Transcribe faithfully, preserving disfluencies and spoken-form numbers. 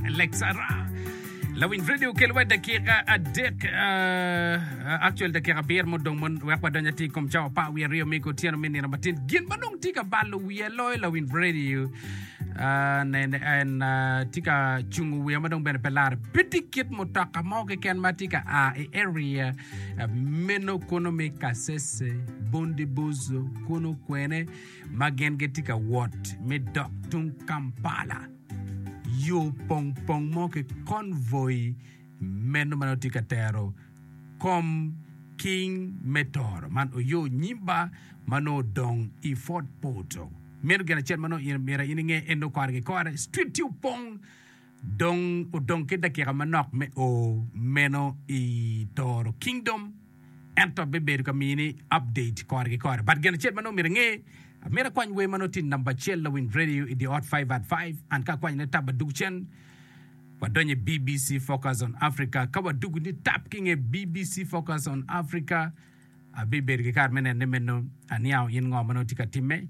Lexara lawiny radio kelwa dakika adek uh, actual dakika abiro mudong mon wek wadony ati i kom cawa apar wiye aryo me otyeno me nino matin gin ma dong tye ka balo wiye loyo lawiny radio uh, nene en uh, tye ka cungo wiye ma dong bene pe lare pe tye kit mutoka mo keken ma tye ka a i area uh, meno kono me Kasese Bundibugyo kono kwene ma gin gitye ka wot me dok tung Kampala yo pong pong mo ki convoy meno ma nongo tye ka tero kom king me toro man oyo nyimba ma nongo odong i Fort Portal meno gin acel ma nongo in myero in inge en nongo kore ki kore street tye opong dong odong ki dakika manok me o meno i Toro Kingdom ento bibedo ka mini update kore ki kore but gin acel ma nongo myero inge amito akwany wer ma nongo tye namba acel lawiny radio i the hot five at five an ka akwanyone tap adug cen wadonyo i B B C Focus on Africa ka wadugu ni tap ki nge B B C Focus on Africa abibedo ki kare me nene meno aniang in ngo ma nongo tye ka timme.